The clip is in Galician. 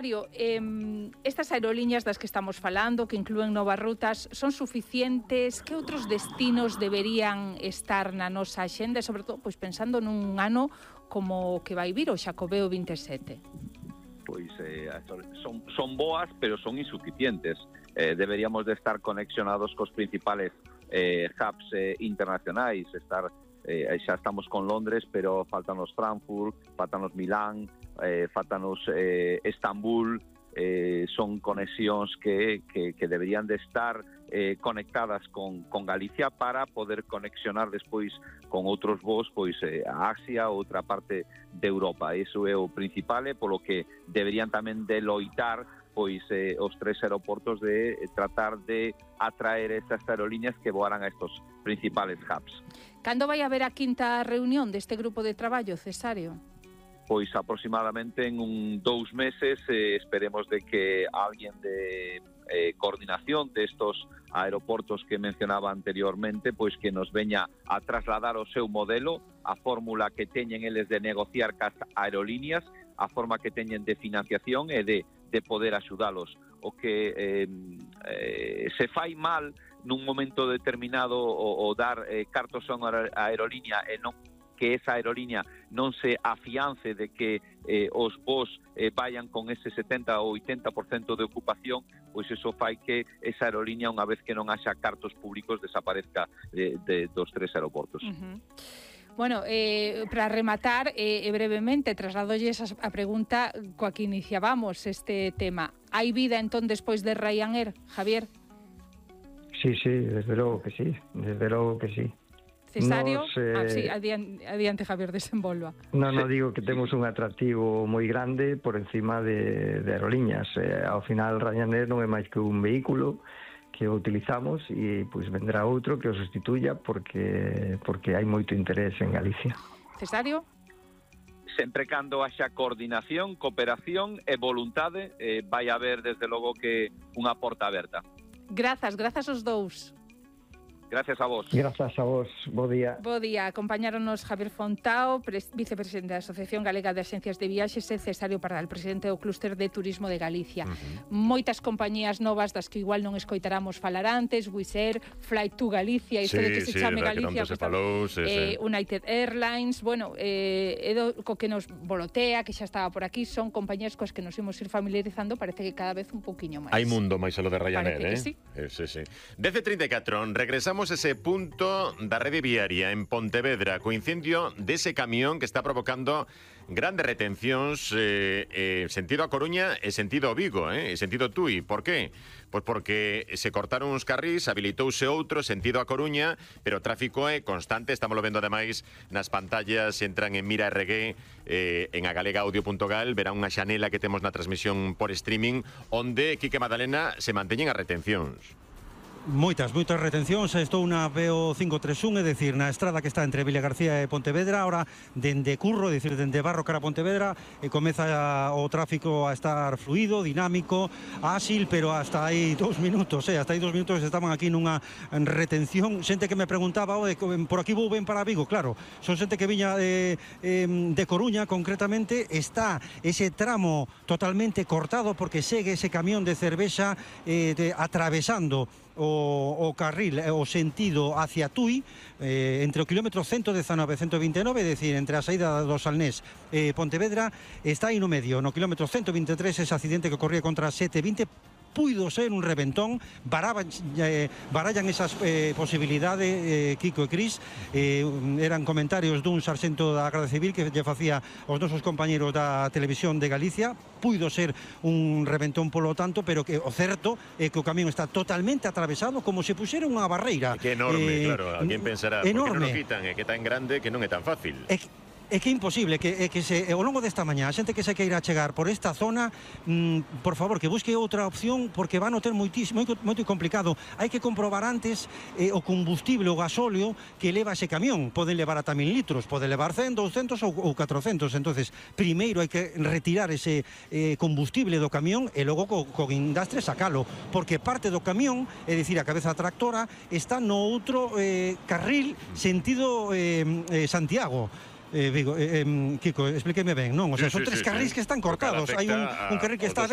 Estas aerolíneas das que estamos falando, que inclúen novas rutas, son suficientes? Que outros destinos deberían estar na nosa axenda, sobre todo pois pensando nun ano como que vai vir o Xacobeo 27? Pois son boas, pero son insuficientes. Deberíamos de estar conexionados cos principales hubs internacionais, xa estamos con Londres, pero faltanos Frankfurt, faltanos Milán, faltanos Estambul. Son conexións que deberían de estar conectadas con Galicia para poder conexionar despois con outros voos pois a Asia ou outra parte de Europa. Iso é o principal, polo que deberían tamén de loitar pois os tres aeroportos de tratar de atraer estas aerolíneas que voaran a estos principales hubs. Cando vai haber a quinta reunión deste grupo de traballo, Cesario? Pois aproximadamente en 2 meses esperemos de que alguén de coordinación de estos aeroportos que mencionaba anteriormente, pois que nos veña a trasladar o seu modelo, a fórmula que teñen eles de negociar cas aerolíneas, a forma que teñen de financiación e de poder axudalos. O que se fai mal nun momento determinado o dar cartos a unha aerolínea e non que esa aerolínea non se afiance de que os voos vayan con ese 70 ou 80% de ocupación, pois eso fai que esa aerolínea, unha vez que non haxa cartos públicos, desaparezca dos tres aeroportos. Bueno, para rematar, brevemente, trasladolles a pregunta coa que iniciábamos este tema. Hai vida entón despois de Ryanair, Javier? Sí, desde logo que sí, Cesario? Sí, adiante Javier, desenvolva. Non digo que temos un atractivo moi grande por encima de aerolíneas. Ao final, Ryanair non é máis que un vehículo que o utilizamos e pois vendrá outro que o sustituya porque hai moito interés en Galicia. Cesario? Sempre cando haxa coordinación, cooperación e voluntade, vai haber desde logo que unha porta aberta. Grazas aos dous. Gracias a vos. Grazas a vos. Bo día. Bo día. Acompañáronos Javier Fontao, vicepresidente da Asociación Galega de Axencias de Viaxes, e Cesario Pardal, presidente do Clúster de Turismo de Galicia. Moitas compañías novas das que igual non escoitáramos falar antes, Wizz Air, Flight to Galicia, isto de que se chame Galicia, United Airlines, bueno, co que nos volotea, que xa estaba por aquí, son compañías coas que nos imos ir familiarizando, parece que cada vez un pouquiño máis. Hai mundo máis a lo de Ryanair, sí. Sí. 10:34, regresamos ese punto da rede viaria en Pontevedra co incendio dese camión que está provocando grandes retencións sentido a Coruña e sentido a Vigo, sentido Tui. Por qué? Pois porque se cortaron uns carrís, habilitouse outro sentido a Coruña, pero o tráfico é constante. Estamos vendo ademais nas pantallas, entran en Mira RG, en agalegaudio.gal, verán unha xanela que temos na transmisión por streaming, onde Quique Madalena se manteñen as retencións. Moitas retencións. Estou na PO 531, é dicir, na estrada que está entre Villa García e Pontevedra. Ahora, dende Curro, é dicir, dende Barro cara a Pontevedra, comeza o tráfico a estar fluido, dinámico, áxil, pero hasta aí 2 minutos, hasta aí 2 minutos estaban aquí nunha retención. Xente que me preguntaba, por aquí vou ben para Vigo. Claro, son xente que viña de Coruña, concretamente. Está ese tramo totalmente cortado porque segue ese camión de cervexa atravesando o carril, o sentido hacia Tui, entre o kilómetro 119 e 129, é dicir, entre a saída do Salnés e Pontevedra. Está aí no medio, no kilómetro 123, ese accidente que corría contra 720, puido ser un reventón. Barallan esas posibilidades, Kiko e Cris. Eran comentarios dun sarxento da Garda Civil que lle facía aos nosos compañeros da Televisión de Galicia. Puido ser un reventón polo tanto, pero que o certo é que o camión está totalmente atravesado como se puxera unha barreira. Que enorme, claro. Alguén pensará, por que non o quitan? É que tan grande que non é tan fácil. É que é imposible que ao longo desta mañá a xente que se queira chegar por esta zona, por favor, que busque outra opción, porque van a ter moito complicado. Hai que comprobar antes o combustible, o gasóleo que leva ese camión. Poden levar ata 1000 litros, pode levar 100, 200 ou 400. Entonces, primeiro hai que retirar ese combustible do camión e logo co guindastre sacalo, porque parte do camión, é dicir, a cabeza tractora, está no outro carril sentido Santiago. Vigo, Kiko, explíqueme ben, non? O sea, son tres carrís que están cortados. Hai un carril que está aberto